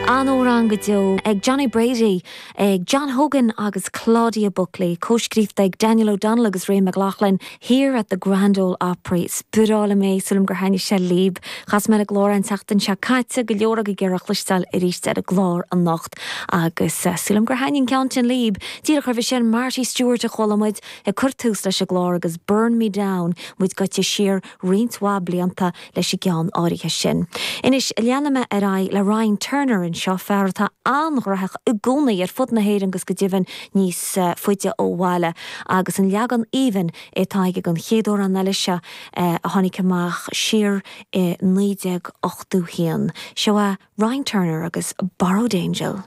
An-amhrán go deo ag Johnny Brady, ag John Hogan agus Claudia Buckley, cóscríofa ag Daniel O'Donnell agus Ray McLaughlin, Here at the Grand Ole Opry. Is breá liom é, sílim gur thaitnigh sé libh. Chas mé ar an gclár an tseachtain seo caite, go leor agaibh ag iarraidh cloisteáil arís ar an gclár anocht agus sílim gur thaitnigh an ceann sin libh. Díreach roimhe sin, Marty Stuart a chuala muid ag cur tús leis an gclár agus Burn Me Down, muid gaibhte siar roinnt mhaith blianta leis an gceann áirithe sin. Anois, leanfaidh mé ar aghaidh le Ryan Turner anseo, fear atá an-ghnóthach i gcónaí ar fud na hÉireann agus go deimhin níos faide ó bhaile, agus an leagan aoibhinn atá aige den chéad amhrán eile seo a tháinig amach siar i 1981. Seo é Ryan Turner agus Borrowed Angel.